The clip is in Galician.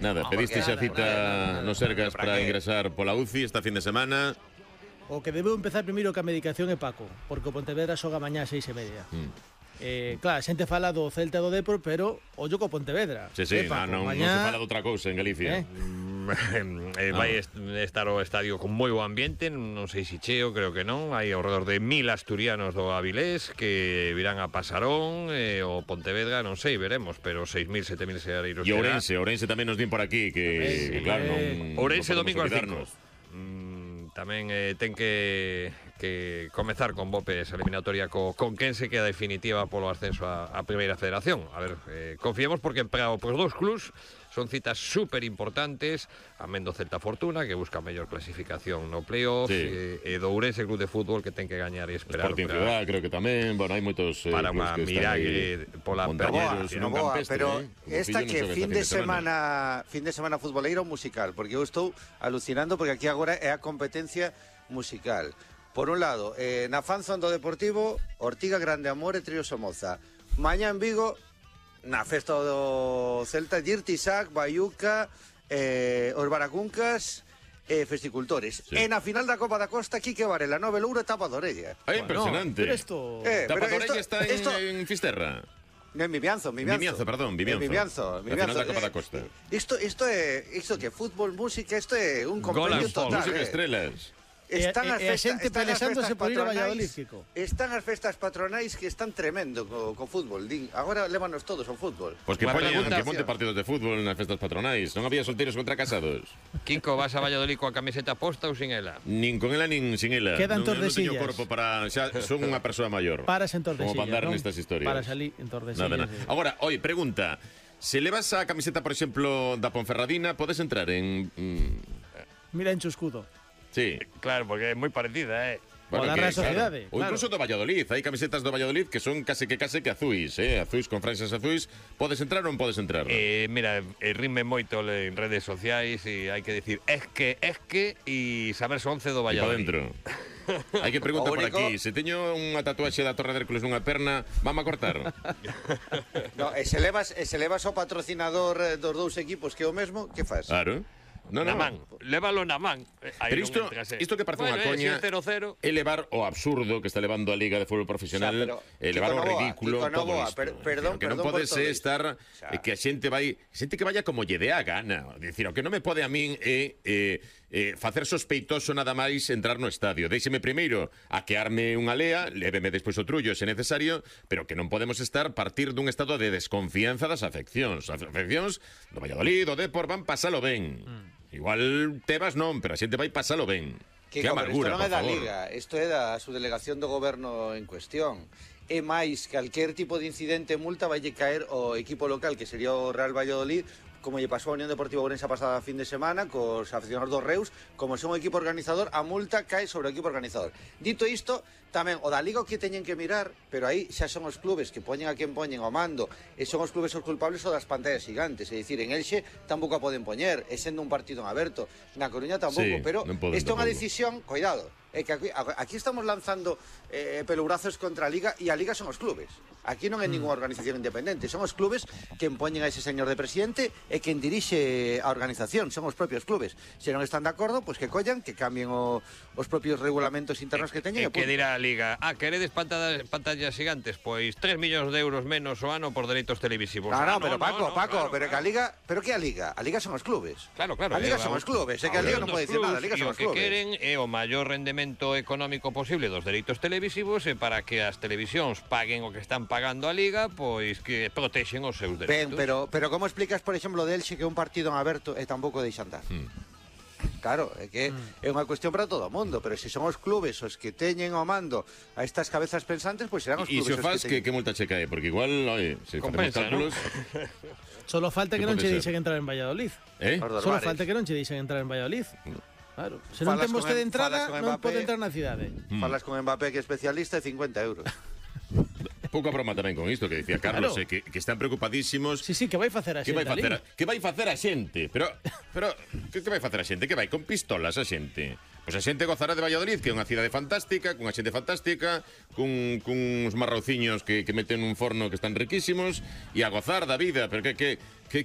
Nada, pediste xa cita no Sergas para ingresar pola UCI esta fin de semana. O que debeu empezar primeiro que a medicación é Paco, porque o Pontevedra xoga mañá a 6:30. Claro, a xente fala do Celta e do Depor, pero ollo co Pontevedra. Sí, Paco, non se fala de outra cousa en Galicia. Vai estar o estadio con moi bo ambiente, non sei se cheo, creo que non. Hai ao redor de 1000 asturianos do Avilés que virán a Pasarón, o Pontevedra, non sei, veremos, pero 6000, 7000 seareiros. E Ourense tamén nos din por aquí que claro, non Ourense non domingo ás 5. olvidarnos. Tamén ten que comezar con Bope esa eliminatoria con quen se queda definitiva polo ascenso a Primeira Federación. A ver, confiemos porque para os dous clubs son citas super importantes. Amén do Celta Fortuna, que busca a mellor clasificación no playoff, e do Ourense Club de Fútbol, que ten que gañar e esperar. Sporting Ciudad, creo que tamén, bueno, hai moitos para unha miragre pola Novoa, pero esta que fin de semana futboleiro musical, porque eu estou alucinando porque aquí agora é a competencia musical. Por un lado, na fanzón do Deportivo, Ortiga, Grande Amor e Trío Somoza. Mañá en Vigo, na festa do Celta, Dirty Sac, Bayuca, os Baracuncas e Festicultores. E na final da Copa da Costa, Quique Varela, Nove Louro e Tapa de Orella. Impresionante. Pero esto... Tapa de Orella está en Fisterra. Vimianzo. Vimianzo. Na final da Copa da Costa. Isto que fútbol, música, isto é un compendio total. Música estrellas. Están as xente pelexándose por ir a Valladolid, Kiko. Están as festas patronais que están tremendo co fútbol. Agora lévanos todos ao fútbol. Pois que ponte partidos de fútbol nas festas patronais. Non había solteiros contra casados. Kiko, vas a Valladolid coa camiseta posta ou sin ela? Nin con ela nin sin ela. Quedan Tordesillas. Non teño corpo para... Xa son unha persoa maior. Paras en Tordesillas, como para andar nestas historias. Para salir en Tordesillas. Agora, oi, pregunta. Se levas a camiseta, por exemplo, da Ponferradina, podes entrar en... Mira en Chuscudo. Sí. Claro, porque é moi parecida, Bueno, o da Real Sociedade. Ou incluso do Valladolid. Hai camisetas do Valladolid que son case que azuis, azuis con franxas azuis. Podes entrar ou non podes entrar? Mira, rime moito en redes sociais e hai que decir es que e saberse 11 do Valladolid. E para dentro. Hai que preguntar por aquí. Se teño unha tatuaxe da Torre de Hércules nunha perna, vamos a cortar? No, e se levas o patrocinador dos dous equipos que é o mesmo, que faz? Claro. No. Man, lévalo na man. Pero isto que parece unha coña é levar o absurdo que está levando a Liga de Fútbol Profesional, levar o ridículo, todo isto. Perdón, que non pode ser estar que a xente que vaya como lle dé a gana. Dicir, o que non me pode a min é facer sospeitoso nada máis entrar no estadio. Déixeme primeiro aquearme unha lea, léveme despois o trullo se necesario, pero que non podemos estar partir dun estado de desconfianza das afeccións. As afeccións do Valladolid, do Depor, van pasalo ben. Igual Tebas non, pero a xente vai pasalo ben. Que amargura, isto non é por da favor. Liga, isto é da subdelegación do goberno en cuestión. É máis, calquer tipo de incidente multa vai caer o equipo local, que sería o Real Valladolid, como lle pasou a Unión Deportiva Ourense a pasada fin de semana cos aficionados dos Reus, como son o equipo organizador, a multa cae sobre o equipo organizador. Dito isto, tamén o da Liga o que teñen que mirar, pero aí xa son os clubes que poñen a quen poñen ao mando, e son os clubes os culpables o das pantallas gigantes, é dicir, en Elxe tampouco a poden poñer, e sendo un partido en aberto, na Coruña tampouco, pero isto é unha decisión, cuidado, é que aquí estamos lanzando pelugrazos contra a Liga, e a Liga son os clubes. Aquí non é ninguna organización independente, son os clubes que poñen a ese señor de presidente e quen dirixe a organización, son os propios clubes. Se non están de acordo, pois que collan, que cambien os propios regulamentos internos que teñen. Que dirá a Liga, queredes pantallas gigantes? Pois 3 millóns de euros menos o ano por dereitos televisivos. Pero Paco, pero que a Liga, pero que a Liga? A Liga son os clubes. Claro. A Liga son os clubes, é que a Liga non pode dicir nada, a Liga son os clubes. O que queren é o maior rendemento económico posible dos dereitos televisivos e para que as televisións paguen o que están pagando a Liga, pois que protexen os seus dereitos. Ben, pero como explicas, por exemplo, de Elxe que é un partido en aberto e tampouco deixan dar? Claro, é que é unha cuestión para todo o mundo, pero se son os clubes os que teñen ao mando a estas cabezas pensantes, pois serán os clubes os que faz que multa che cae, porque igual, se facemos cálculos... Solo falta que non che dixen entrar en Valladolid. Solo falta que non che dixen entrar en Valladolid. Claro, se non ten vostede entrada, non pode entrar na cidade. Falas con Mbappé, que é especialista, de 50 euros. Pouca broma tamén con isto que dicía Carlos, que están preocupadísimos. Sí, que vai facer a xente? Que vai facer a xente? Pero que vai facer a xente? Que vai con pistolas a xente? Pois a xente gozará de Valladolid, que é unha cidade fantástica, cunha xente fantástica, cuns marrociños que meten un forno que están riquísimos, e a gozar da vida, pero que